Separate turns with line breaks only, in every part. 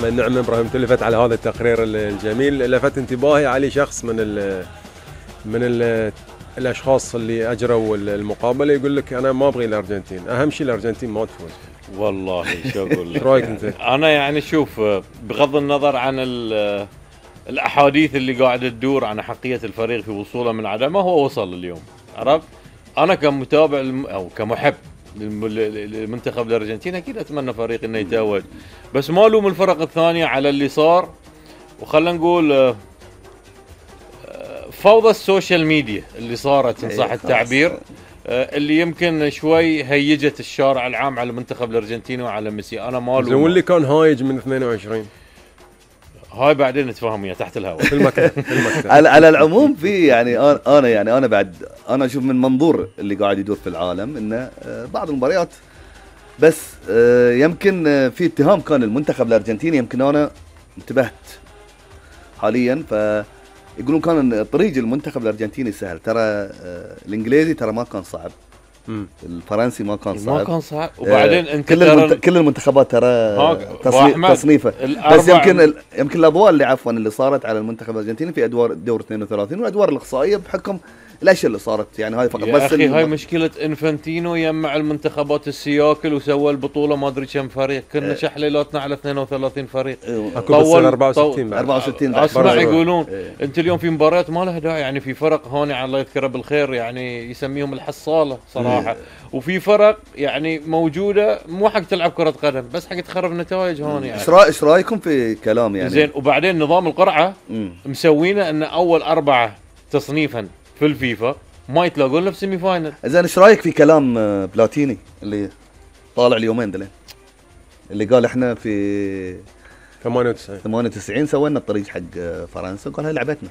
نعم ابراهيم، تلفت على هذا التقرير الجميل. لفت انتباهي علي شخص من الاشخاص اللي اجروا المقابله، يقول لك انا ما ابغي الارجنتين، اهم شيء الارجنتين ما تفوز.
والله شو اقول لك؟
رايك انت؟
انا يعني شوف، بغض النظر عن الاحاديث اللي قاعده تدور عن حقيه الفريق في وصوله من عدمه، هو وصل اليوم، عرفت؟ انا كمتابع او كمحب للمنتخب الارجنتيني اكيد اتمنى فريق انه يتوج، بس ما الوم الفرق الثانيه على اللي صار. وخلنا نقول فوضى السوشيال ميديا اللي صارت ان صح التعبير، اللي يمكن شوي هيجت الشارع العام على المنتخب الارجنتيني وعلى ميسي. انا ما الوم.
واللي كان هايج من 22
هاي بعدين نتفاهم وياه تحت الهواء
في المكتب.
على العموم في انا بعد انا اشوف من منظور اللي قاعد يدور في العالم انه بعض المباريات بس يمكن في اتهام كان المنتخب الارجنتيني، يمكن انا انتبهت حاليا، فيقولون كان طريق المنتخب الارجنتيني سهل. ترى الانجليزي ترى ما كان صعب، الفرنسي ما كان صعب،
وبعدين انت
كل المنتخبات ترى تصنيفه، بس يمكن الاضواء اللي صارت على المنتخب الارجنتيني في ادوار دور 32 والادوار الاقصائيه بحكم الاشياء اللي صارت، يعني هاي فقط.
بس اخي هاي مشكله انفانتينو يجمع المنتخبات السياكل وسوى البطوله ما ادري كم فريق، كنا شحليلاتنا على 32 فريق،
طول 64
اسمع يقولون انت اليوم في مباريات ما لها داعي، يعني في فرق هون الله يذكره بالخير يعني يسميهم الحصاله صراحه، وفي فرق يعني موجوده مو حق تلعب كره قدم بس حق تخرب نتائج هون. يعني
ايش رايكم في كلام يعني
زين؟ وبعدين نظام القرعه مسوينه ان اول 4 تصنيفا في الفيفا ما يتلاقون له في سيمي فاينل.
زين ايش رايك في كلام بلاتيني اللي طالع اليومين دلين، اللي قال احنا في 98 سوينا الطريق حق فرنسا، قال هاي لعبتنا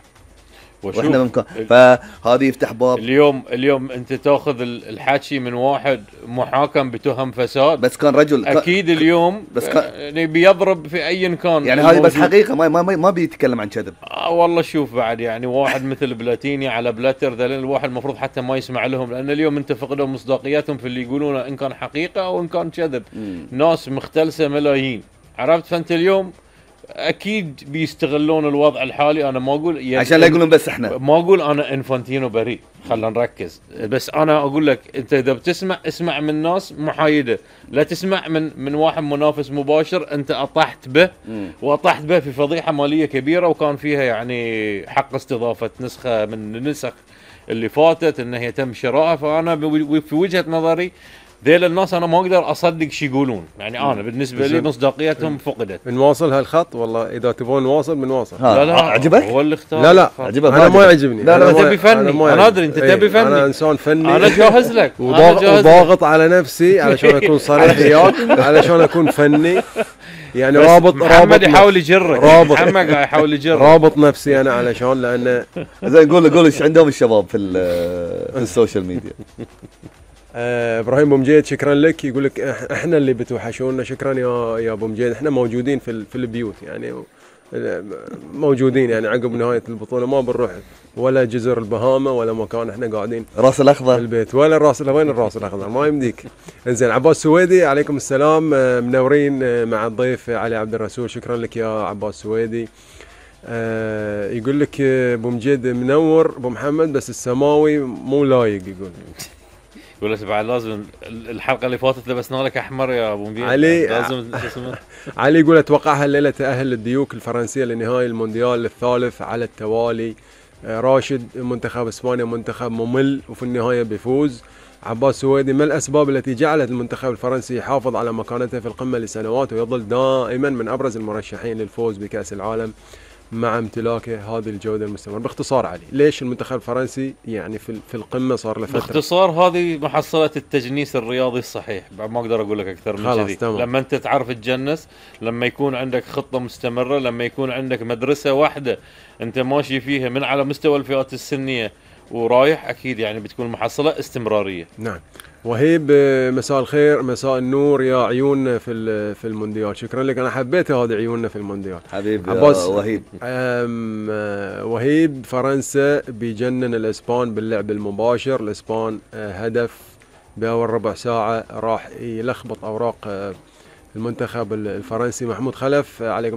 واحنا بمكان، فهذه يفتح باب.
اليوم انت تاخذ الحكي من واحد محاكم بتهم فساد،
بس كان رجل
اكيد اليوم بس يعني بيضرب في اي كان،
يعني هذه بس حقيقه ما بيتكلم عن كذب.
والله شوف بعد يعني واحد مثل بلاتيني على بلاتر ذلك الواحد المفروض حتى ما يسمع لهم، لان اليوم انت فقدوا مصداقيتهم في اللي يقولونه ان كان حقيقه او ان كان كذب. ناس مختلسه ملايين، عرفت؟ فانت اليوم اكيد بيستغلون الوضع الحالي. انا ما اقول يعني
عشان لا يقولون بس احنا،
ما اقول انا انفانتينو بريء، خلينا نركز، بس انا اقول لك انت اذا بتسمع اسمع من ناس محايده، لا تسمع من واحد منافس مباشر انت اطحت به واطحت به في فضيحه ماليه كبيره، وكان فيها يعني حق استضافه نسخه من النسخ اللي فاتت ان هي تم شرائها. فانا في وجهه نظري ذيل الناس انا ما اقدر اصدق شي يقولون، يعني انا بالنسبه لي مصداقيتهم فقدت.
بنواصل هالخط والله، اذا تبون نواصل بنواصل.
لا
عجبك؟
هو اللي اختار.
لا عجبك؟ انا ما يعجبني.
لا تبي فني، انا ادري انت تبي فني.
انا انسان فني،
انا جاهز لك
وضاغط على نفسي علشان اكون صريح وياك، علشان اكون فني يعني رابط
محمد يحاول يجرك، محمد يحاول يجرك،
رابط نفسي انا علشان لانه
زين. قول ايش عندهم الشباب في السوشيال ميديا.
ابراهيم بومجيد شكرا لك، يقول لك احنا اللي بتوحشونا. شكرا يا بومجيد، احنا موجودين في البيوت، يعني موجودين يعني عقب نهايه البطوله ما بنروح ولا جزر البهاما ولا مكان، احنا قاعدين
راس الاخضر
في البيت ولا وين الراس الاخضر ما يمديك. انزين عباس سويدي عليكم السلام، منورين مع الضيف علي عبد الرسول. شكرا لك يا عباس سويدي. يقول لك بومجيد منور ابو محمد بس السماوي مو لايق،
يقول لك بعد لازم الحلقه اللي فاتت لبسنا لك احمر يا ابو مبين
علي.
لازم
علي يقول اتوقع هالليله تاهل الديوك الفرنسيه لنهائي المونديال الثالث على التوالي. راشد منتخب اسبانيا منتخب ممل وفي النهايه بيفوز. عباس سويدي ما الاسباب التي جعلت المنتخب الفرنسي يحافظ على مكانته في القمه لسنوات ويظل دائما من ابرز المرشحين للفوز بكاس العالم مع امتلاكه هذه الجودة المستمرة؟ باختصار علي، ليش المنتخب الفرنسي يعني في القمة صار له فترة؟
باختصار هذه محصلة التجنيس الرياضي الصحيح، ما اقدر اقول لك اكثر من كذي. لما انت تعرف تجنس، لما يكون عندك خطة مستمرة، لما يكون عندك مدرسة واحدة انت ماشي فيها من على مستوى الفئات السنية ورايح، اكيد يعني بتكون محصلة استمرارية.
نعم. وهيب مساء الخير، مساء النور يا عيوننا في المونديال. شكرا لك، انا حبيت هذه عيوننا في المونديال
حبيبي وهيب.
وهيب فرنسا بيجنن الاسبان باللعب المباشر. الاسبان هدف باول ربع ساعه راح يلخبط اوراق المنتخب الفرنسي. محمود خلف، عليكم